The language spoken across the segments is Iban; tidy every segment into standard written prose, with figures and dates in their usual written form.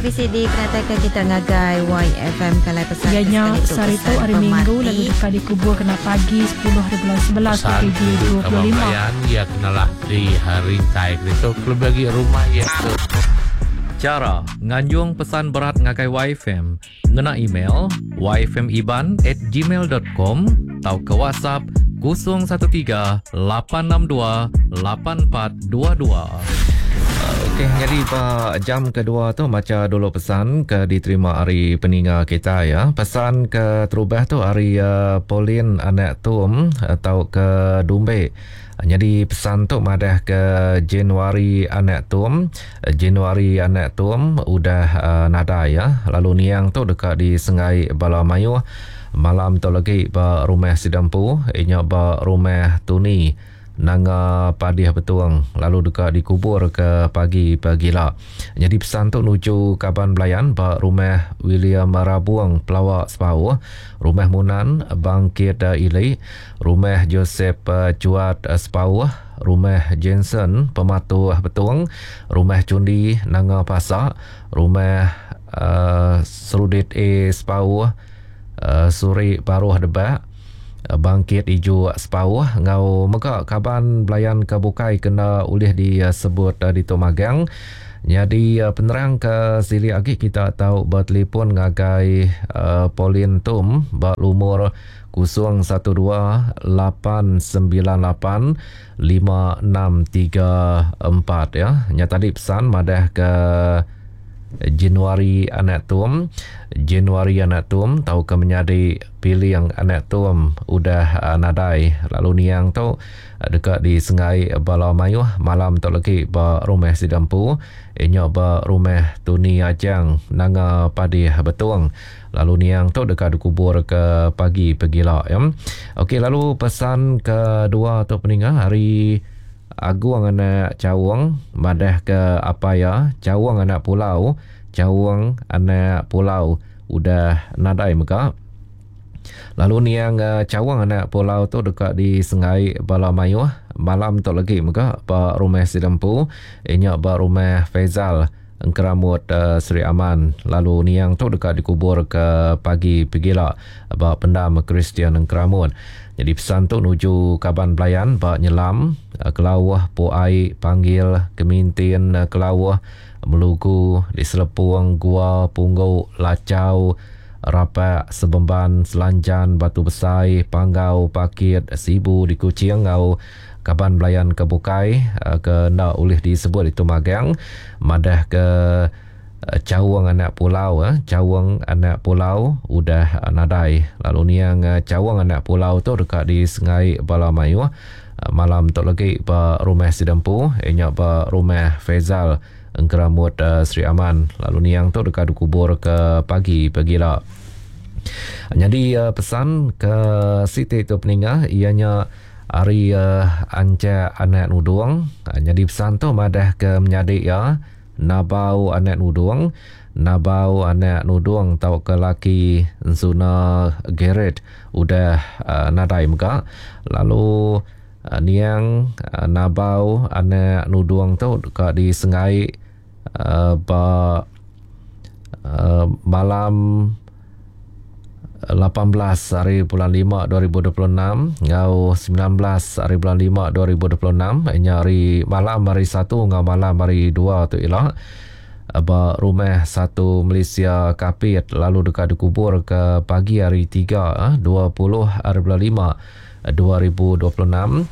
tu bisi dikenataika kita ngagai YFM Kalai pesan Iya ke nya sekali tu sehari tu pesan hari Minggu pemati. lalu deka dikubur kena pagi 10 haribulan 11 Pesan ke kaban 2025. belayan iya kenalah di rintai ke ditu kelebih agi rumah iya ke. Chara nganjung pesan berat ngagai YFM ngena email yfmiban@gmail.com tauka WhatsApp 013 862 8422. Okey, nyadi ba jam kedua tu macha dulu pesan ke diterima ari peninga kita ya. Pesan ke terubah tu ari uh, Pauline anak Tum atau ke Dumbe. Nyadi pesan tu madah ke Januari anak Tum, Januari anak Tum udah uh, nadai ya. Lalu niang tu deka disengai bala mayuh malam tu lagi ba rumah sida empu, inya ba rumah Tuni Nanga Padih Betung lalu deka dikubur ke pagi pagila. Nyadi pesan tu nuju kaban belayan ba rumah William Rabung Pelawa Sepauh, rumah Munan Bangkit Ili, rumah Joseph Chuat Sepauh, rumah Jensen Pematuh Betung, rumah Chundi Nanga Pasa, rumah uh, Serudit A Sepauh, Suri Baruh Debak, Bangkit Ijuk Sepauh enggau mega kaban belayan ke bukai ke enda ulih disebut ditu magang. Nyadi penerang ke silik agi kita tau betelefon ngagai Pauline Tum ba lumur 012 898 5634 ya. Nya tadi pesan madah ke Januari anak Tum, Januari anak Tum tauka menyadi Piling anak Tum udah nadai lalu niang tu deka disengai bala mayuh malam tu legi ba rumah sida empu inya ba rumah Tuni Ajang Nanga Padih Betong lalu niang tu deka dikubur ke pagi pegila ya. Okey lalu pesan kedua tu peninga hari Agung anak Chaung madah ke apai iya Chaung anak Pulau, Chaung anak Pulau udah nadai mega. Lalu niang Chaung anak Pulau tu deka disengai bala mayuh malam tu lagi mega ba rumah sida empu iya nya ba rumah Faizal Engkeramut Sri Aman lalu niang tu deka dikubur ke pagi pegila ba pendam Kristian Engkeramut. Nyadi pesan tu nuju kaban belayan ba Nyelam, Kelauh, Puai, Panggil, Kemintin, Kelauh, Melugu, di Selepung, Gua, Punggu, Lachau, Rapak, Sebemban, Selanjan, Batu Besai, Panggau, Pakit, Sibu di Kuching enggau Kaban belayan ke bukai ke enda ulih disebut ditu magang madah ke Chaung anak Pulau Chaung anak Pulau udah nadai lalu niang Chaung anak Pulau tu deka disengai bala mayuh malam tu lagi ba rumah sida empu iya nya ba rumah Faizal Engkeramut Sri Aman lalu niang tu deka dikubur ke pagi pagila. Nyadi pesan ke siti tu peninga iya nya Ari Anchak anak Nudung, nyadi pesan tu madah ke menyadi iya Nabau anak Nudung, Nabau anak Nudung tauka laki Ensuna Gerrit udah nadai mega lalu niang Nabau anak Nudung tu deka disenggai ba malam 18 hari bulan 5 2026 enggau 19 hari bulan 5 2026 nya hari malam hari satu enggau malam hari dua tu ila ba rumah satu Malaysia Kapit lalu deka dikubur ke pagi hari 3 20 hari bulan 5 2026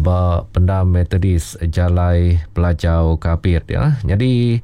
ba pendam Methodist Jalai Pelajau Kapit ya. Nyadi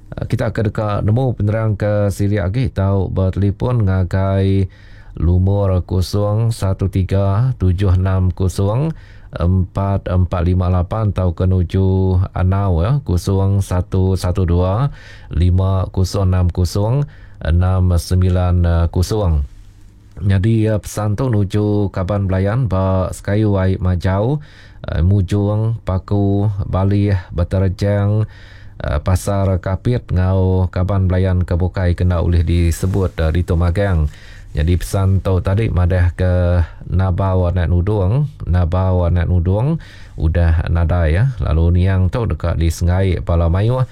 kita ke deka nemu penerang ke silik agi tau betelefon ngagai lumur 013 760 4458 tauka nuju Anau ya 0112 5060 690. Nyadi pesan tu nuju kaban belayan ba Sekayu Ai Majau, Mujong, Paku, Balih, Beterejang, Pasar Kapit enggau kaban belayan ke bukai ke enda ulih disebut ditu magang. Nyadi pesan tu tadi madah ke Nabau anak Nudong, Nabau anak Nudong udah nadai lalu niang tu deka disengai bala mayuh.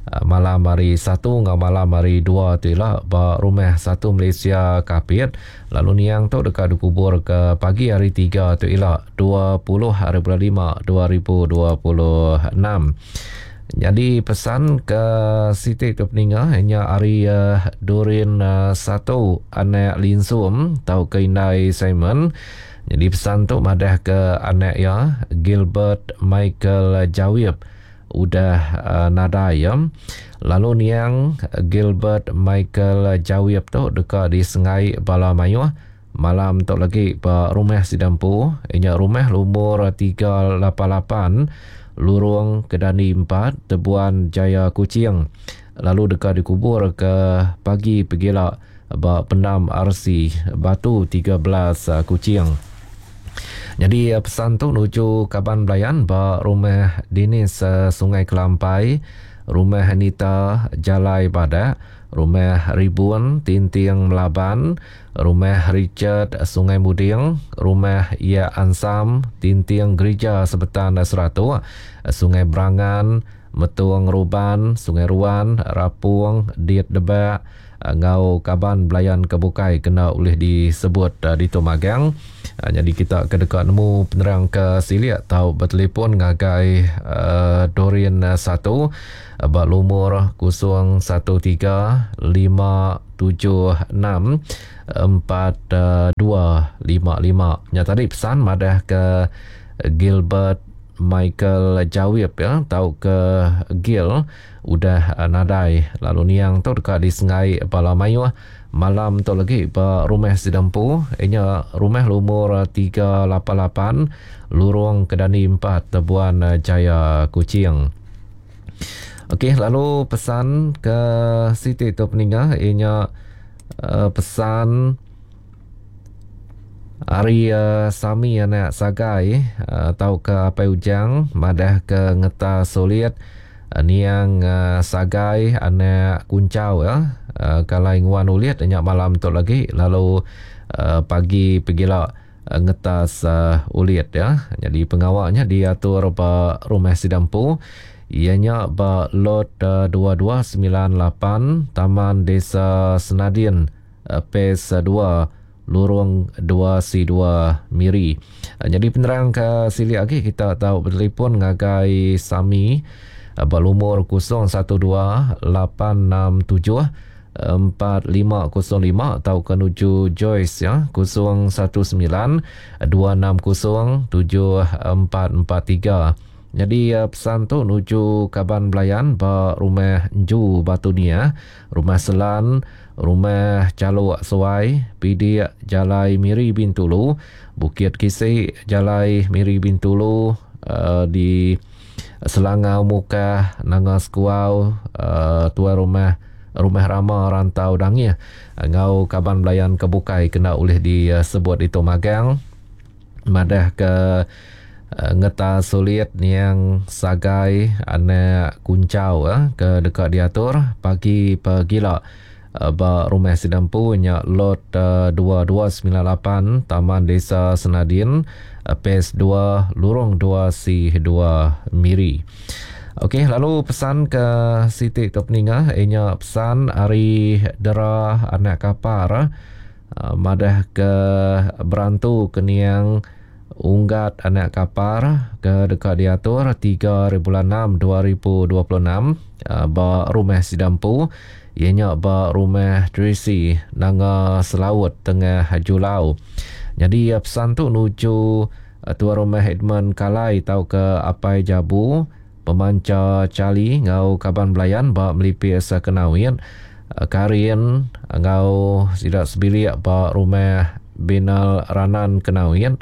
Malam hari Satu enggau malam hari Dua tu ila ba Rumah Satu Malaysia Kapit lalu niang tu deka dikubur ke pagi hari Tiga tu ila 20 hari bulan 5 2026. Nyadi pesan ke siti tu peninga nya ari Durin Satu anak Linsum tauka indai Simon. Nyadi pesan tu madah ke anak iya Gilbert Michael Jawib udah nadai iya. Lalu niang Gilbert Michael Jawib tu deka disengai bala mayuh malam tu lagi ba rumah sida empu iya nya rumah lumur 388 Lurong Kedandi 4 Tebuan Jaya Kuching lalu deka dikubur ke pagi pegila ba Pendam RC Batu 13 Kuching. Nyadi pesan tu nuju kaban belayan ba Rumah Dinis Sungai Kelampai, Rumah Anita Jalai Badak, Rumah Ribun Tinting Melaban, Rumah Richard Sungai Muding, Rumah Yak Ansam Tinting Gerija Sebetan Seratok, Sungai Berangan, Metung Ruban, Sungai Ruan, Rapung, Dit Debak, enggau kaban belayan ke bukai kena ulih disebut ditu magang. Nyadi kita ke deka nemu penerang ke silik tau betelefon ngagai Doreen 1 ba lumur 013 576 4255. Nya tadi pesan madah ke Gilbert Michael Jawib ya tauka Gil udah nadai lalu niang tu deka disengai bala mayuh malam tu lagi ba rumah sida empu inya rumah lumur 388 Lurong Kedandi 4 Tebuan Jaya Kuching. Okey lalu pesan ke siti tu peninga inya pesan Ari Sami anak Sagai tauka Apai Ujang madah ke ngeta sulit niang Sagai anak Kunchau ya kalai nguan ulit nya malam tu lagi lalu pagi pegila ngetas ulit ya. Nyadi pengawa nya diatur ba rumah sida empu iya nya ba lot 2298 Taman Desa Senadin Phase 2 Lurung 2C2 Miri. Nyadi penerang ke silik agi kita tau betelefon ngagai Sami ba lumur 012 867 4505 tauka nuju Joyce ya 019 260 7443. Nyadi pesan tu nuju kaban belayan ba Rumah Enju Batu Niah, Rumah Selan, Rumah Chalok Suai, Pidik Jalai Miri Bintulu, Bukit Kisi Jalai Miri Bintulu di Selangau Mukah, Nanga Sekuau, Tuai Rumah Rumah Rama Rantau Dangih enggau kaban belayan ke bukai kena ulih disebut ditu magang. Madah ke ngeta sulit niang Sagai anak Kunchau ke deka diatur pagi pegila ba rumah sida empu nya Lot 2298 Taman Desa Senadin Phase 2 Lurong 2C 2 Miri. Okey lalu pesan ke siti tu peninga inya pesan ari Dera anak Kapar. Madah ke berantu ke niang Unggat anak Kapar ke deka diatur 3 hari bulan 6 2026 ba Rumah Sida Empu iya nya ba Rumah Tracy Nanga Selaut Tengah Julau. Nyadi pesan tu nuju Tuan Rumah Edmund Kalai tauka Apai Jabu Pemancha Charlie enggau kaban belayan ba Melipis Kenawit, Karin enggau sida sebilik ba Rumah Binal Ranan Kenawit,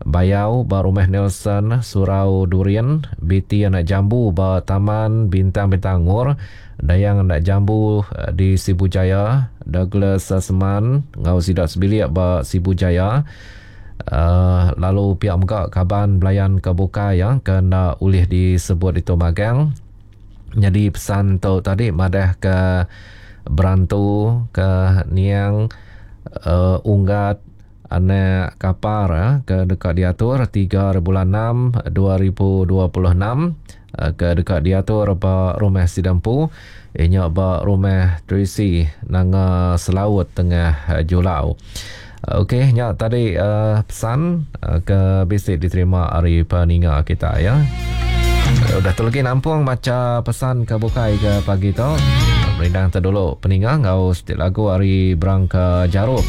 Bayau ba Rumah Nelson Surau Durin, Biti Anak Jambu ba Taman Bintang Bintangor, Dayang Anak Jambu di Sibu Jaya, Douglas Seman enggau sida sebilik ba Sibu Jaya, Lalu pia mega kaban belayan ke bukai ya ke enda ulih disebut ditu magang. Nyadi pesan tu tadi madah ke berantu ke niang uh, Unggat anak Kapar ya, ke deka diatur 3 bulan 6 2026. ke deka diatur ba rumah sida empu iya nya ba rumah Tracy Nanga Selaut Tengah Julau. Okey nya tadi uh, pesan uh, ke bisi diterima ari peninga kita ya. Udah tu lagi nampung macha pesan ke bukai ke pagi tu. Merindang tu dulu peninga enggau siti lagu ari Berangka Jarup.